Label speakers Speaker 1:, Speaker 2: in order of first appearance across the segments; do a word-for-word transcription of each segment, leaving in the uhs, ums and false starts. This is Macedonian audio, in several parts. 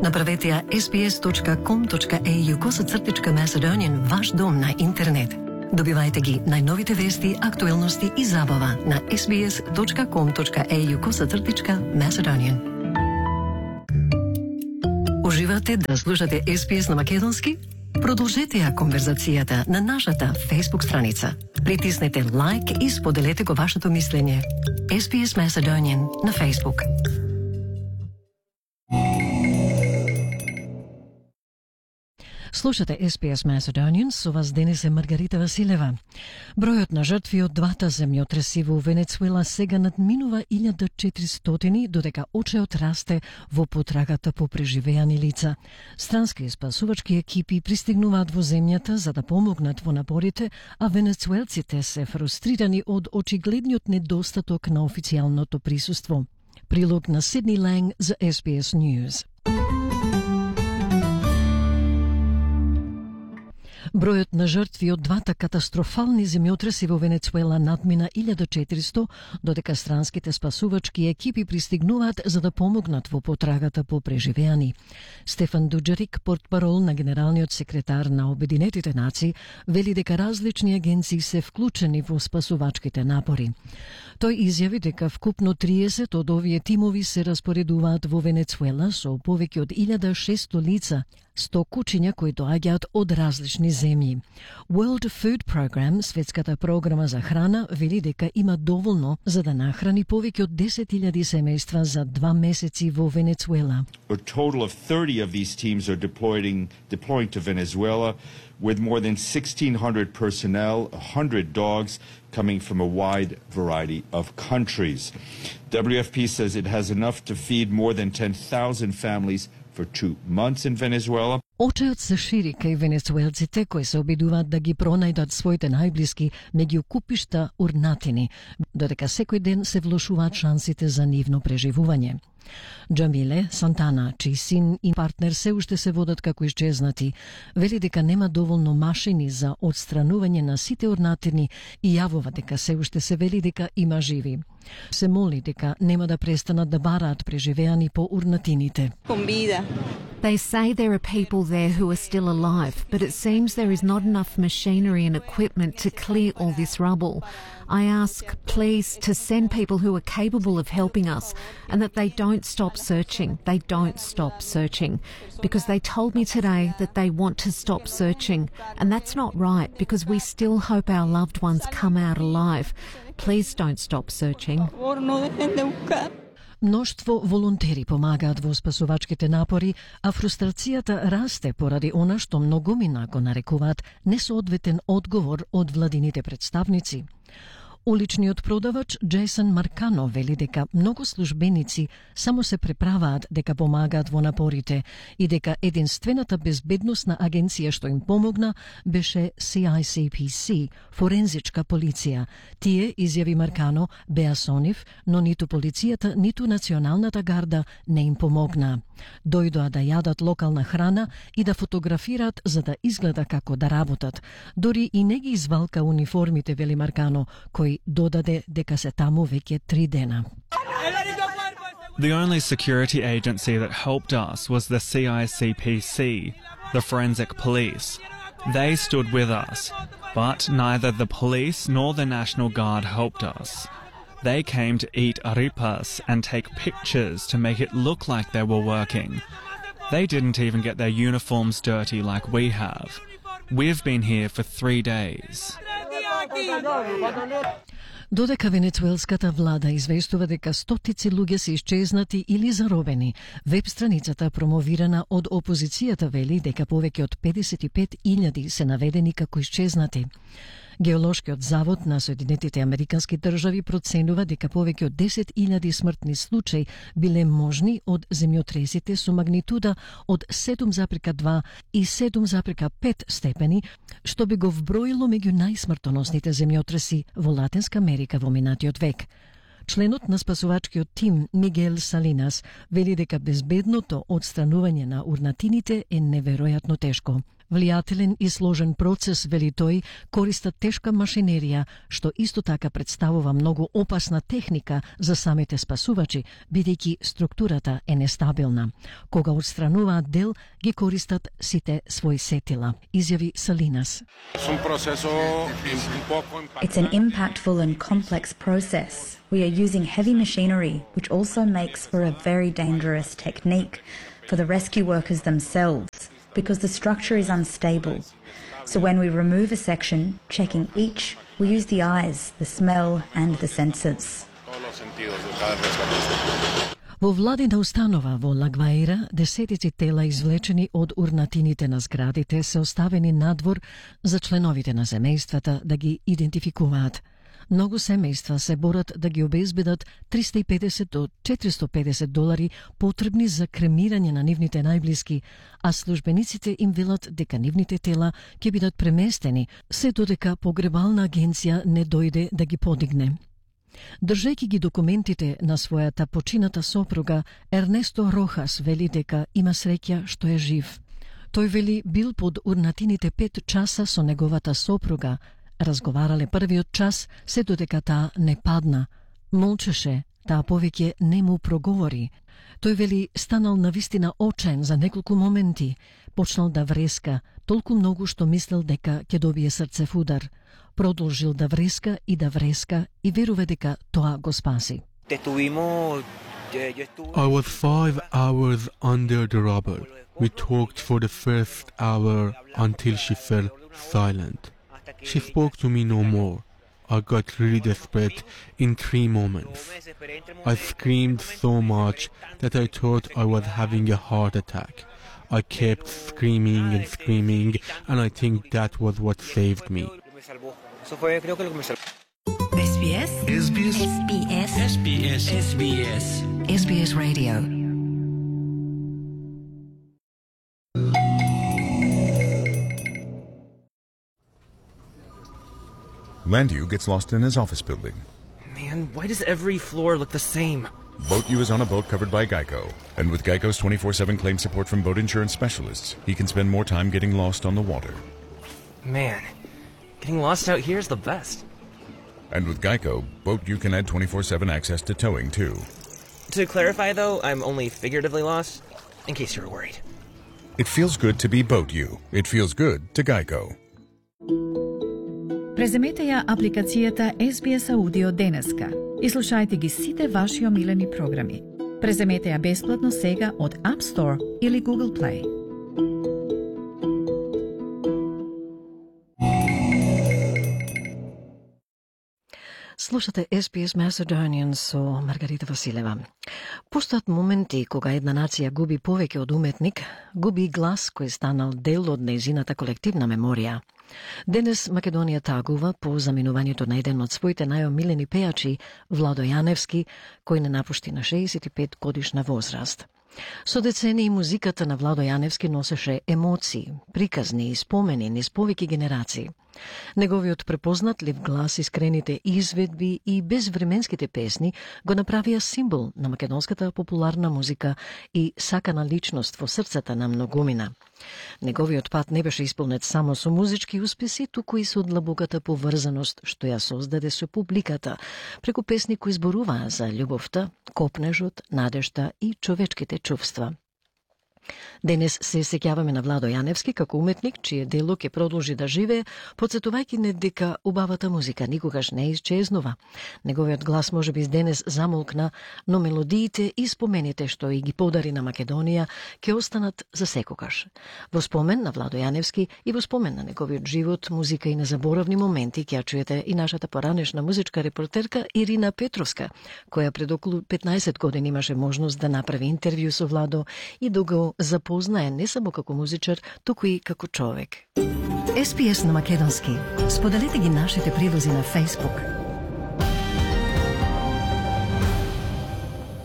Speaker 1: Направете ја ес би ес точка ком точка е ю косацртичка Macedonian ваш дом на интернет. Добивајте ги најновите вести, актуелности и забава на ес би ес точка ком точка е ю косацртичка Macedonian. Уживате да слушате ес би ес на македонски? Продолжете ја конверзацијата на нашата Facebook страница. Притиснете лайк и споделете го вашето мислење. ес би ес Macedonian на Facebook. Слушате ес би ес Macedonian, со вас денес е Маргарита Василева. Бројот на жртви од двата земјотреси во Венецуела сега надминува илјада и четиристотини, додека очеот расте во потрагата по преживеани лица. Странски спасувачки екипи пристигнуваат во земјата за да помогнат во напорите, а венецуелците се фрустрирани од очигледниот недостаток на официјалното присуство. Прилог на Сидни Ланг за ес би ес News. Бројот на жртви од двата катастрофални земјотреси во Венецуела надмина илјада и четиристото, додека странските спасувачки екипи пристигнуваат за да помогнат во потрагата по преживеани. Стефан Дуџерик, портпарол на генералниот секретар на Обединетите нации, вели дека различни агенции се вклучени во спасувачките напори. Тој изјави дека вкупно триесет од овие тимови се распоредуваат во Венецуела со повеќе од илјада и шесто лица, сто кучиња кои доаѓаат од различни земји. World Food Program, светската програма за храна, вели дека има доволно за да нахрани повеќе од десет илјади семејства за два месеци во Венецуела.
Speaker 2: A total of thirty of these teams are deploying deploying to Venezuela with more than sixteen hundred personnel, one hundred dogs coming from a wide variety of countries. W F P says it has enough to feed more than ten thousand families for two months in Venezuela.
Speaker 1: Очеот се шири кај венецуелците кои се обидуваат да ги пронајдат своите најблиски меѓу купишта урнатини, додека секој ден се влошуваат шансите за нивно преживување. Джамиле Сантана, чиј син и партнер се уште се водат како исчезнати, вели дека нема доволно машини за одстранување на сите урнатини и јавува дека се уште се вели дека има живи. Се моли дека нема да престанат да бараат преживеани по урнатините.
Speaker 3: They say there are people there who are still alive, but it seems there is not enough machinery and equipment to clear all this rubble. I ask, please, to send people who are capable of helping us and that they don't stop searching. They don't stop searching. Because they told me today that they want to stop searching. And that's not right because we still hope our loved ones come out alive. Please don't stop searching.
Speaker 1: Мноштво волонтери помагаат во спасувачките напори, а фрустрацијата расте поради она што многумина го нарекуваат несоодветен одговор од владините представници. Уличниот продавач Джейсон Маркано вели дека многу службеници само се преправаат дека помагаат во напорите и дека единствената безбедносна агенција што им помогна беше си ај си пи си, форензичка полиција. Тие, изјави Маркано, беа со нив, но ниту полицијата, ниту националната гарда не им помогна. Дојдоа да јадат локална храна и да фотографираат за да изгледа како да работат. Дори и не ги извалка униформите, вели Маркано, кој додаде дека се таму веќе три дена.
Speaker 4: The only security agency that helped us was the C I C P C, the forensic police. They stood with us, but neither the police nor the National Guard helped us. They came to eat arepas and take pictures to make it look like they were working. They didn't even get their uniforms dirty like we have. We've been here for three days.
Speaker 1: Додека венецуелската влада известува дека стотици луѓе се исчезнати или заробени, веб страницата промовирана од опозицијата вели дека повеќе од педесет и пет илјади се наведени како исчезнати. Геолошкиот завод на Соединетите Американски држави проценува дека повеќе од десет илјади смртни случаи биле можни од земјотресите со магнитуда од седум запирка два и седум запирка пет степени, што би го вброило меѓу најсмртоносните земјотреси во Латинска Америка во минатиот век. Членот на спасувачкиот тим Мигел Салинас вели дека безбедното одстранување на урнатините е неверојатно тешко. Влијателен и сложен процес, вели тој, користат тешка машинерија, што исто така представува многу опасна техника за самите спасувачи, бидејќи структурата е нестабилна. Кога отстрануваат дел, ги користат сите своји сетила, изјави Салинас.
Speaker 5: It's an impactful and complex process. We are using heavy machinery, which also makes for a very dangerous technique for the rescue workers themselves, because the structure is unstable. So when we remove a section, checking each, we use the eyes, the smell and the senses.
Speaker 1: Во владина установа во Лагваира, десетици тела извлечени од урнатините на зградите се оставени надвор за членовите на семејствата да ги идентификуваат. Многу семејства се борат да ги обезбедат триста и педесет до четиристо и педесет долари потребни за кремирање на нивните најблиски, а службениците им велат дека нивните тела ќе бидат преместени, се додека погребална агенција не дојде да ги подигне. Држејќи ги документите на својата почината сопруга, Ернесто Рохас вели дека има среќа што е жив. Тој вели бил под урнатините пет часа со неговата сопруга, разговарале првиот час, се додека таа не падна. Молчеше, таа повеќе не му проговори. Тој вели станал навистина очаен за неколку моменти, почнал да вреска, толку многу што мислел дека ќе добие срцев удар. Продолжил да вреска и да вреска и верува дека тоа го спаси.
Speaker 6: I was five hours under the rubble. We talked for the first hour until she fell silent. She spoke to me no more. I got really desperate in three moments. I screamed so much that I thought I was having a heart attack. I kept screaming and screaming, and I think that was what saved me.
Speaker 7: S B S S B S S B S S B S S B S S B S Radio.
Speaker 8: Landu gets lost in his office building.
Speaker 9: Man, why does every floor look the same?
Speaker 8: BoatU is on a boat covered by Geico. And with Geico's twenty-four seven claim support from boat insurance specialists, he can spend more time getting lost on the water.
Speaker 9: Man, getting lost out here is the best.
Speaker 8: And with Geico, BoatU can add twenty-four seven access to towing, too.
Speaker 9: To clarify, though, I'm only figuratively lost, in case you were worried.
Speaker 8: It feels good to be BoatU. It feels good to Geico.
Speaker 10: Преземете ја апликацијата С Би Ес Audio денеска и слушајте ги сите ваши омилени програми. Преземете ја бесплатно сега од App Store или Google Play.
Speaker 1: Слушате С Би Ес Macedonian со Маргарита Василева. Постојат моменти кога една нација губи повеќе од уметник, губи глас кој станал дел од нејзината колективна меморија. Денес Македонија тагува по заминувањето на еден од своите најомилени пејачи, Владо Јаневски, кој не напушти на шеесет и пет годишна возраст. Со децении музиката на Владо Јаневски носеше емоции, приказни и спомени низ повеќе генерации. Неговиот препознатлив глас, искрените изведби и безвременските песни го направија символ на македонската популарна музика и сакана личност во срцата на многумина. Неговиот пат не беше исполнет само со музички успеси, туку и со длабоката поврзаност што ја создаде со публиката, преку песни кои зборуваа за љубовта, копнежот, надежта и човечките чувства. Денес се сеќаваме на Владо Јаневски како уметник, чие дело ќе продолжи да живее, потсетувајќи не дека убавата музика никогаш не исчезнува. Неговиот глас можеби денес замолкна, но мелодиите и спомените што и ги подари на Македонија ќе останат за секогаш. Во спомен на Владо Јаневски и во спомен на неговиот живот, музика и незаборавни моменти ќе чуете и нашата поранешна музичка репортерка Ирина Петровска, која пред околу петнаесет години имаше можност да направи интервју со Владо и да го запознае не само како музичар, туку и како човек.
Speaker 7: С Би Ес на македонски. Споделете ги нашите прилози на Facebook.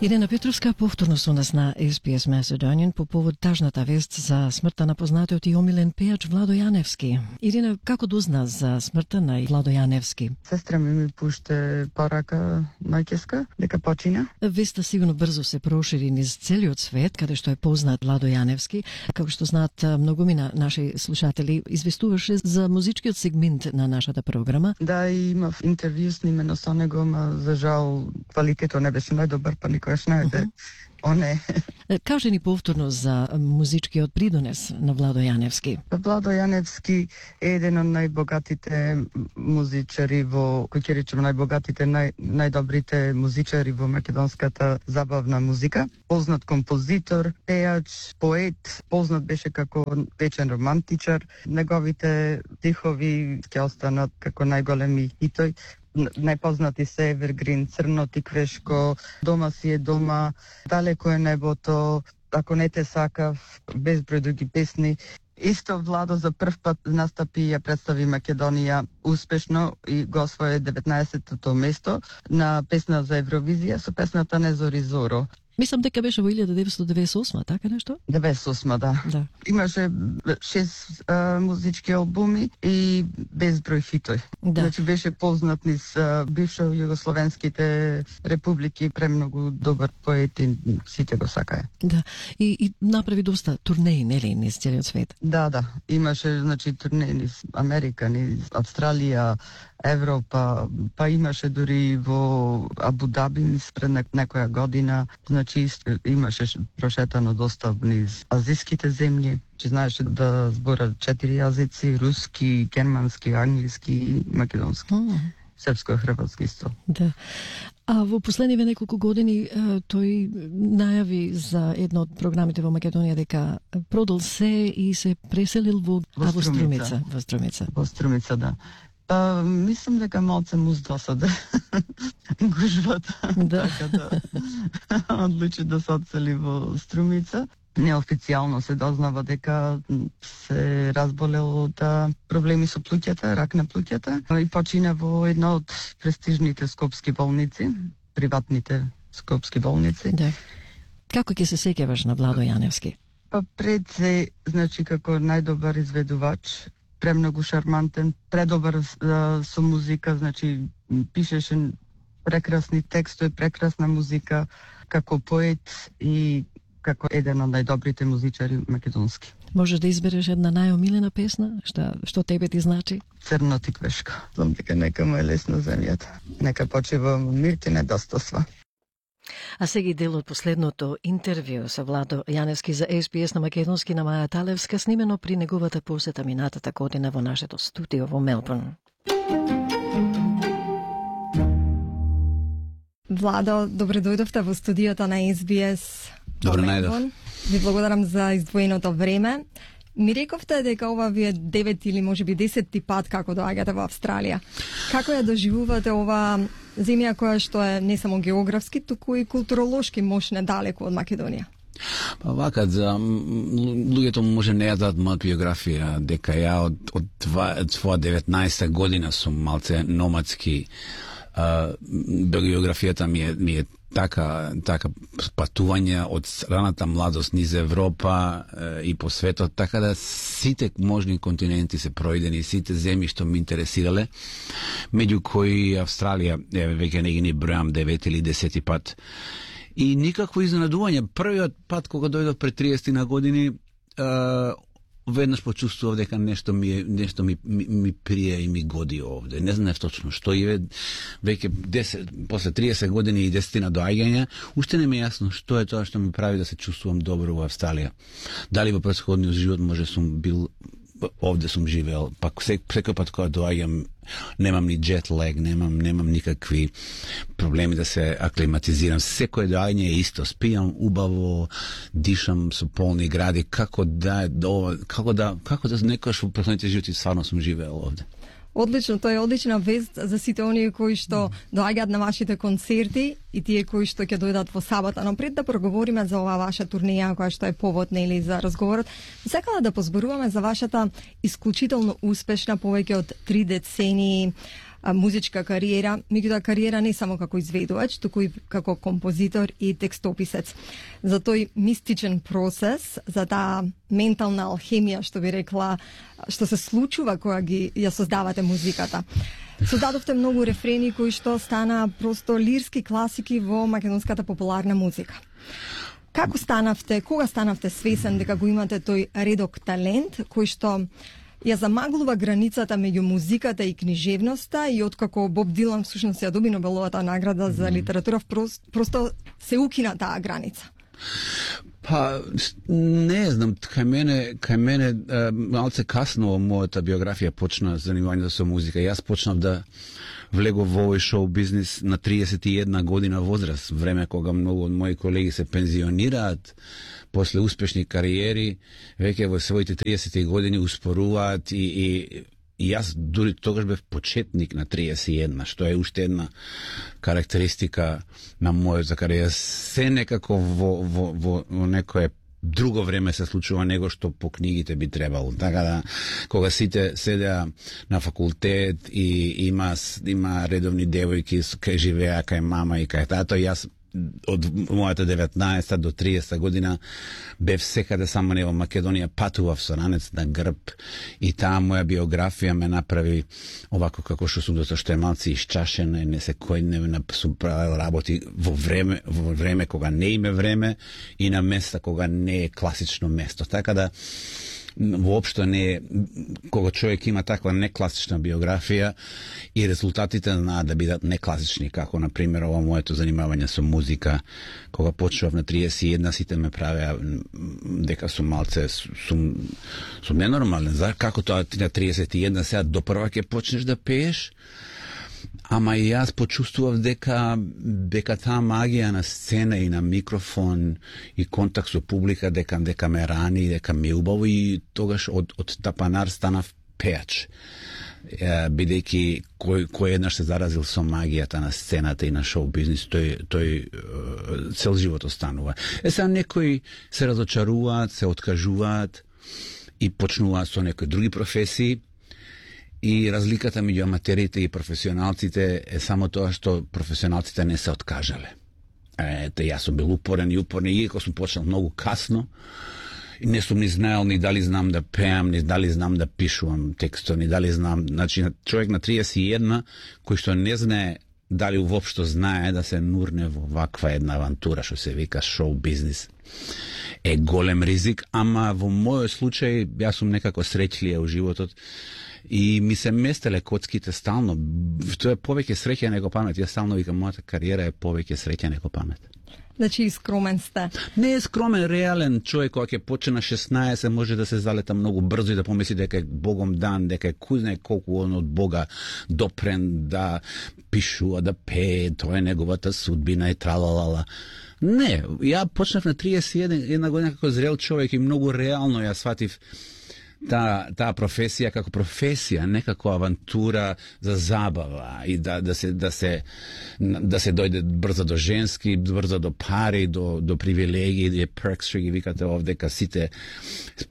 Speaker 1: Ирена Петровска повторно со нас на Ес Би Ес Macedonian по повод тажната вест за смртта на познатиот и омилен пејач Владо Јаневски. Ирена, како дозна за смртта на Владо Јаневски?
Speaker 11: Сестра ми ми пуште порака мајческа дека почина.
Speaker 1: Веста сигурно брзо се прошири низ целиот свет, каде што е познат Владо Јаневски. Како што знаат многумина наши слушатели, известуваше за музичкиот сегмент на нашата програма.
Speaker 11: Да, и имав интервју снимено со него, ма за жал квалитетот не беше најдобар, па никој не е. Оне.
Speaker 1: Кажи ни повторно за музичкиот придонес на Владо Јаневски.
Speaker 11: Владо Јаневски е еден од најбогатите музичари во, кој ќе речем најбогатите, нај, најдобрите музичари во македонската забавна музика. Познат композитор, пејач, поет, познат беше како вечен романтичар. Неговите стихови ќе останат како најголеми хитои. Најпознати се Evergreen, Црно тиквешко, Дома си е дома, Далеко е небото, Ако не те сакав, безброј други песни. Исто Владо за прв пат настапи и ја представи Македонија успешно и го освои деветнаесеттото место на песна за Евровизија со песната Не зори зоро.
Speaker 1: Мислам дека беше во илјада деветстотини деведесет и осма, така нешто?
Speaker 11: деветдесет и осма, да.
Speaker 1: да.
Speaker 11: Имаше шест а, музички албуми и безброј хитои.
Speaker 1: Да.
Speaker 11: Значи беше познат низ а, бившо југословенските републики, премногу добар поет и сите го сакаја.
Speaker 1: Да. И, и направи доста турнеи, нели, низ целиот свет?
Speaker 11: Да, да. Имаше, значи, турнеи низ Америка, низ Австралија, Европа, па имаше дури во Абу Даби пред некоја година, значи имаше прошетано доста низ азиските земји, че знаеше да збора четири јазици, руски, германски, англиски и македонски. Mm. Српско и хрватски исто.
Speaker 1: Да. А во последниве неколку години тој најави за една од програмите во Македонија дека продал се и се преселил во,
Speaker 11: во
Speaker 1: во Струмица. Во Струмица.
Speaker 11: Во Струмица, да. Па, мислам дека малце му здосаде гужвата.
Speaker 1: Да.
Speaker 11: Така да одлучи да се одсели во Струмица. Неофицијално се дознава дека се разболел од проблеми со плуќата, рак на плуќата и почина во една од престижните скопски болници, приватните скопски болници.
Speaker 1: Да. Како ќе се сеќаваш на Владо Јаневски?
Speaker 11: Па пред се, значи како најдобар изведувач, премногу шармантен, предобар а, со музика, значи пишеше прекрасни текстови, прекрасна музика, како поет и како еден од најдобрите музичари македонски.
Speaker 1: Можеш да избереш една најомилена песна, што што тебе ти значи?
Speaker 11: Црно тиквешко. Знам дека нека му е лесно земјата. Нека почива мир ти недостасва.
Speaker 1: А сега дел од последното интервју со Владо Јаневски за Ес Би Ес на македонски на Маја Талевска, снимено при неговата посета минатата година во нашето студио во Мелбурн.
Speaker 12: Владо, добре дојдовте во студиото на Ес Би Ес.
Speaker 13: Добре најдов.
Speaker 12: Ви благодарам за издвоеното време. Ми рековте дека ова ви е девет или може би десетти пат како доаѓате во Австралија. Како ја доживувате ова земја која што е не само географски, туку и културолошки мощна далеку од Македонија?
Speaker 13: Па вака, за луѓето може не ја дадат мојата биографија, дека ја од, од, од своја деветнаесета година сум малце номадски. Uh, биографијата ми е, ми е така, така патување од раната младост низ Европа uh, и по светот, така да сите можни континенти се пројдени, сите земји што ми интересирале, меѓу кои Австралија, е, веќе не ги ни бројам девет или десети пат. И никакво изненадување. Првиот пат кога дојдов пред триесет на години, uh, веднаш почувствував дека нешто ми нешто ми, ми ми прие и ми годи овде. Не знаев точно што и веќе десет после триесет години и десет доаѓања, уште не ми е јасно што е тоа што ми прави да се чувствувам добро во Австралија. Дали во претходниот живот може сум бил овде сум живеел, па секој пат кога доаѓам немам ни джет лег, немам немам никакви проблеми да се аклиматизирам. Секој доаѓање е исто, спијам убаво, дишам со полни гради, како да како да како да некојаш во претходните животи стварно сум живеел овде.
Speaker 12: Одлично, тоа е одлична вест за сите оние кои што доаѓаат на вашите концерти и тие кои што ќе дојдат во сабота. Но пред да проговориме за оваа ваша турнеја која што е повод нели за разговорот, сакала да позборуваме за вашата исклучително успешна повеќе од три децении а, музичка кариера, меѓутоа кариера не само како изведувач, туку и како композитор и текстописец. За тој мистичен процес, за таа ментална алхемија, што би рекла, што се случува кога ги ја создавате музиката. Создадовте многу рефрени кои што стана просто лирски класики во македонската популарна музика. Како станавте, кога станавте свесен дека го имате тој редок талент кој што ја замаглува границата меѓу музиката и книжевноста и откако Боб Дилан всушност ја доби Нобеловата награда за литература, просто се укина таа граница?
Speaker 13: Па, не знам, кај мене, кај мене малце касно мојата биографија почна занимањето со музика. Јас почнав да влегов во овој шоу бизнис на триесет и една година возраст, време кога многу од мои колеги се пензионираат после успешни кариери, веќе во своите триесет години успоруваат и, и И јас дури тогаш бев почетник на триесет и една, што е уште една карактеристика на мојата кариера. Се некако во, во, во, во некое друго време се случува него што по книгите би требало. Така да, кога сите седеа на факултет и има, има редовни девојки кај живеа кај мама и кај тато, јас од мојата деветнаесета до триесета година бев секаде, само не во Македонија, патував со ранец на грб и таа моја биографија ме направи овако како што сум, затоа што е малци исчашена и не се којдневна, сум правил работи во време, во време кога не име време и на места кога не е класично место. Така да воопшто не е, кога човек има таква некласична биографија и резултатите знаат да бидат некласични, како на пример ова моето занимавање со музика, кога почнав на триесет и една, сите ме правеа дека сум малце сум сум ненормален. За како тоа ти на триесет и една сега допрва ќе почнеш да пееш? Ама и јас почувствував дека дека таа магија на сцена и на микрофон и контакт со публика дека дека ме рани, дека ми е убаво и тогаш од од тапанар станав пеач. Бидејќи кој кој еднаш се заразил со магијата на сцената и на шоу бизнис, тој тој цел живот останува. Е сега некои се разочаруваат, се откажуваат и почнуваат со некои други професии. И разликата меѓу аматерите и професионалците е само тоа што професионалците не се откажале. Ете, јас сум бил упорен и упорен, и иако сум почнал многу касно, и не сум ни знаел ни дали знам да пеам, ни дали знам да пишувам текстот, ни дали знам, значи човек на триесет и една кој што не знае дали уопшто знае да се нурне во ваква една авантура што се вика шоу бизнис, е голем ризик, ама во мојот случај јас сум некако среќлија во животот и ми се местеле коцките стално. Тоа е повеќе среќа него памет. Јас стално викам, мојата кариера е повеќе среќа него памет.
Speaker 12: Значи, скромен сте.
Speaker 13: Не е скромен, реален човек, кога ќе почне на шеснаесет, може да се залета многу брзо и да помисли дека е Богом дан, дека е кузне колку он од Бога допрен да пишува, да пее, тоа е неговата судбина и тралалала. Не, ја почнав на триесет и една година како зрел човек и многу реално ја сватив таа та професија како професија, не како авантура за забава и да да се да се да се дојде брзо до женски, брзо до пари, до до привилегии, да перкс што ги викате овде, ка сите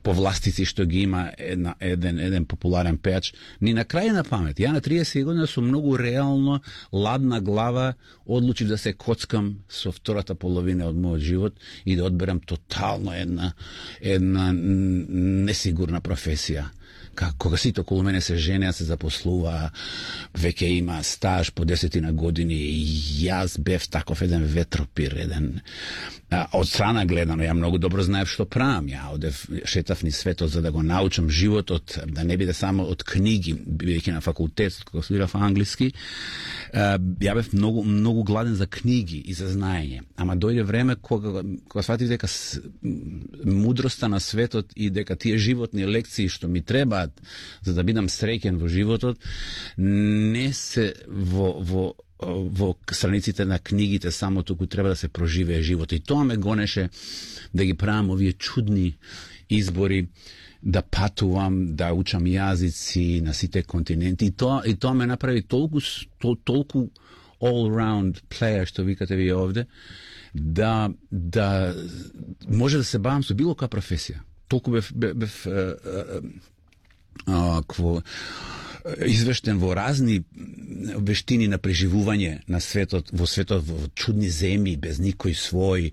Speaker 13: повластици што ги има една, еден еден популарен пеач, ни на крај на памет. Ја на триесет година сум многу реално, ладна глава, одлучив да се коцкам со втората половина од мојот живот и да одберам тотално една една несигурна професија. професија. Кога сите околу мене се женеа, се запослува, веќе има стаж по десетина години и јас бев таков еден ветропир, еден а, од страна гледано, ја многу добро знаев што правам. Ја одев, шетав ни светот за да го научам животот, да не биде само од книги, бидејќи на факултет, кога студирав англиски, а, ја бев многу многу гладен за книги и за знаење. Ама дојде време кога кога сватив дека мудроста на светот и дека тие животни лекции што ми требаат за да бидам среќен во животот, не се во во во страниците на книгите само, туку треба да се проживее живот. И тоа ме гонеше да ги правам овие чудни избори, да патувам, да учам јазици на сите континенти. И тоа, и тоа ме направи толку, тол, толку all-round player, што викате ви овде, да, да може да се бавам со било која професија. Толку бев, бев, бев а, а, кво, извештен во разни вештини на преживување на светот, во светот, во чудни земји, без никој свој.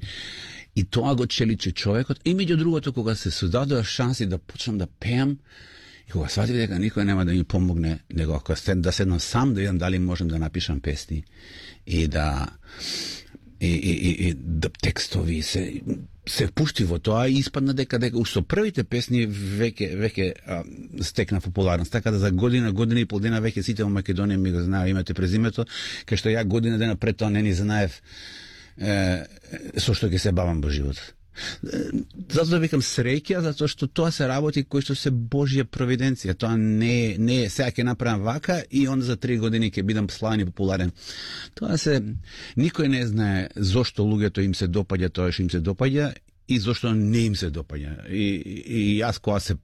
Speaker 13: И тоа го челичи човекот. И меѓу другото, кога се создадува шанси да почнам да пеам, и кога сватив дека никој нема да ми помогне, него ако да седнам сам, да видам дали можам да напишам песни и да и, и, и, и да текстови се се пушти во тоа и испадна дека дека со првите песни веќе веќе а, стекна популарност, така да за година, година и пол дена веќе сите во Македонија ми го знаеа името и презимето, кај што ја година дена пред тоа не ни знаев е, со што ќе се бавам во живот. Затоа викам среќа, затоа што тоа се работи кои што се Божја провиденција. Тоа не не е сега ќе направам вака и онда за три години ќе бидам славен и популарен. Тоа се никој не знае зошто луѓето им се допаѓа тоа што им се допаѓа и зошто не им се допаѓа. И, и, и јас кога се